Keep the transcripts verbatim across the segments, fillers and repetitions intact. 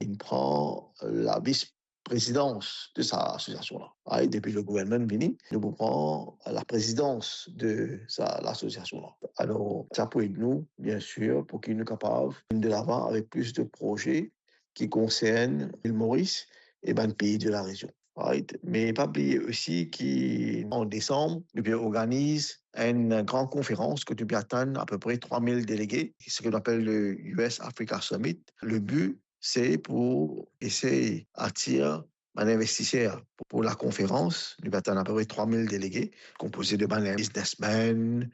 inn pran lavis prezidans de sa lasosiasion la. Right? Depi le gouvernman vini, nou pou pran laprezidans de sa lasosiasion la. Alor, sa pou ed nou, biensir, pou ki nou kapav vinn de lavan avek plis de proze ki konsern Lil Moris e bann pei de larezion. Right? Me pa bliye osi ki an desanm, nou pe organiz enn gran konferans kot nou pe atann apepre trwa mil delege, seki nou apel le U S Africa Summit. Le bi, se pou esey atir bann investiser pou, pou lakonferans. Nou pe atann apepre trwa mil delege, konpoze de bann biznesmenn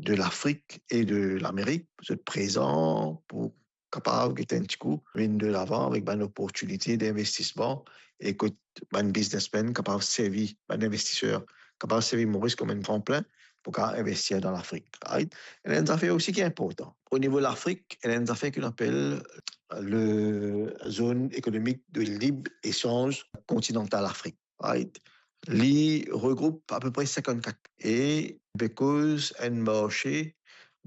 de Lafrik e de Lamerik, zot prezan pou kapav get enn tikou vinn de lavan avek bann oportinite dinvestisman e kot bann biznesmenn kapav servi, bann investiser kapav servi Moris kom enn tranplin pou kapav investir dan Lafrik. Right? Ena enn zafer osi ki inportan. O nivo Lafrik, ena enn zafer ki nou apel le Zone Économique de Libre-Échange Continentale Afrique. Right? Li regroup apepre sinkannkat e pe koz enn marse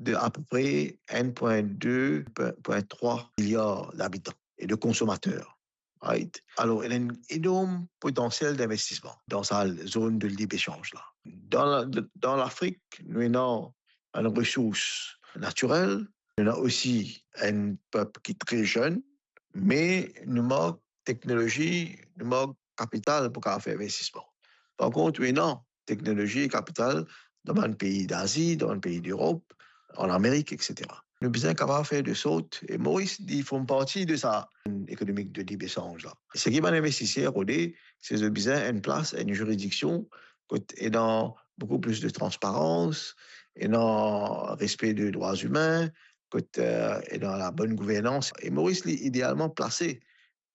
de apepre enn pwin de, pwin trwa miliar dabitan e de konsomater. Right? Alor, ena enn enorm potansiel dinvestisman dan sa zone de libre-échange la. Dan la, dan Lafrik, nou ena enn resours natirel, nou ena osi enn pep ki tre zenn, me nou mank teknolozi, nou mank kapital pou kapav fer investisman. Par kont, nou ena teknolozi e kapital dan bann pei Dazi, dan bann pei Lerop, an Amerik, et cetera. Nou bizin kapav fer de sort, e Moris, li form parti de sa ekonomi de libre-échange la. Seki bann investiser rode, se zot bizin enn plas, enn ziridiksion, kot ena boukou plis de transparans, ena respe de drwa imin, kot, eh, ena labonn gouvernans. E Moris, li idealman plase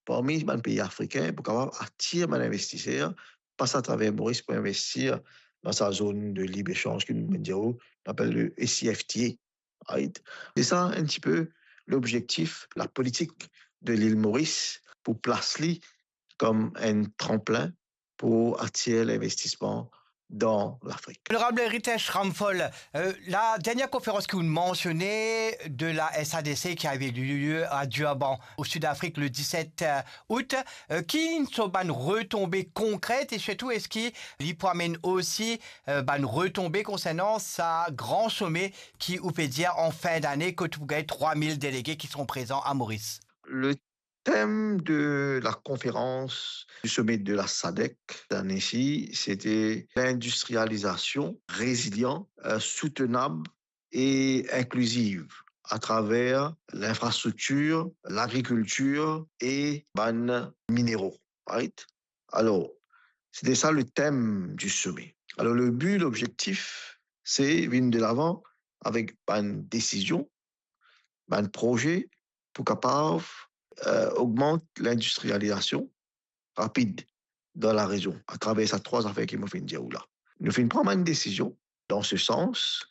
parmi bann pei afrikin pou kapav atir bann investiser, pas atraver Moris pou investir dan sa zone de libre-échange ki nou, nou apel le E C F T A, right? Se sa enn tipe lobzektif, lapolitik de Lil Moris pou plas li kom enn tranplin pou atir linvestisman dan Lafrik. Onorab Ritesh Ramphal, euh, la dernière conférence que vous mentionnez de la S A D C qui avait eu lieu à Durban, au Sud-Afrique, le dix-sept août, euh, ki ena bann retonbe konkret e sirtou eski li pou amenn osi, euh, bann retonbe konsernan sa gran some ki ou pe dir an fin dane, kot ou gagn trwa mil delege ki seront prezan a Moris? Le thème de la conférence du sommet de la sadec cette année-ci, c'était l'industrialisation résiliente, euh, soutenable et inclusive à travers l'infrastructure, l'agriculture et bann minéraux, right? Alors, c'était ça le thème du sommet. Alors, le but, l'objectif, c'est vinn de l'avant avec bann décision, bann proze pou kapav, euh, ogmant lindistrializasion rapid dan larezion, atraver sa trwa zafer ki mo finn dir ou la. Nou finn pran bann desizion dan se sans.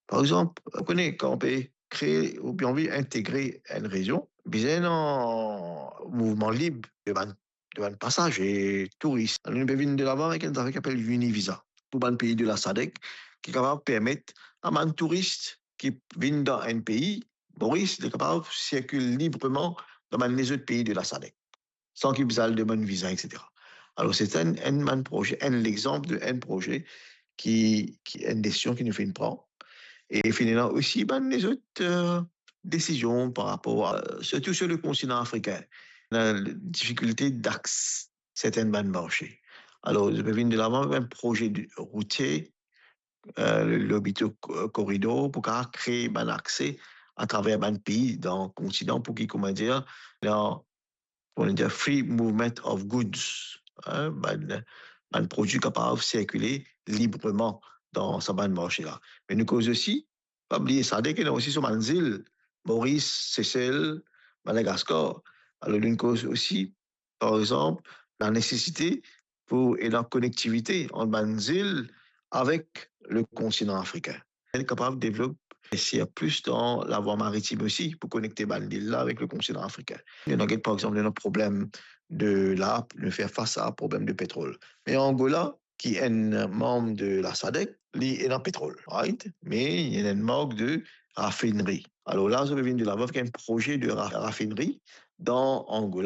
Par exanp, ou kone, kan ou pe kree oubien anvi integre enn rezion, bizin ena mouvman lib de bann, de bann pasaze, touris. Nou pe vinn de lavan avek enn zafer ki apel Univisa pou bann pei de la sadec, ki kapav permet a bann touris ki vinn dan enn pei, Moris, li kapav sirkil libreman dan bann lezot pei de la sadec, san ki bizin al demann viza, et cetera. Alor, se enn, enn bann proze, enn lexanp de enn proze ki, ki enn desizion ki nou finn pran. E finn ena osi bann lezot, euh, desizion par rapor a, sirtou sir le kontinan afrikin, la difikilte d'aks-, sertin bann marse. Alor, nou pe vinn de lavan avek enn proze de, routie, euh, le Lobito Co-, Corridor, pou kapav kree bann akse atraver bann pei dan kontinan pou ki, kouma dir, dan, kouma dir, free movement of goods, hein, bann, bann prodwi kapav sirkile libreman dan sa bann marse la. Me nou koz osi, pa bliye sadek ena osi so bann zil, Moris, Sesel, Madagaskar. Alor, nou koz osi, par exanp, lanesesite pou ena konektivite ant bann zil avek le kontinan afrikin. Kapav devlop, investir plis dan lavwa maritim osi pou konekte bann lil la avek le kontinan afrikin. Nou ena get, par exanp, nou ena problem de la, nou fer fas a problem de petrol. Me Angola, ki enn manm de la sadek, li ena petrol, right? Me li ena enn mank de rafineri. Alor la, zot pe vinn de lavan avek enn proze de ra-, rafineri dan Angola.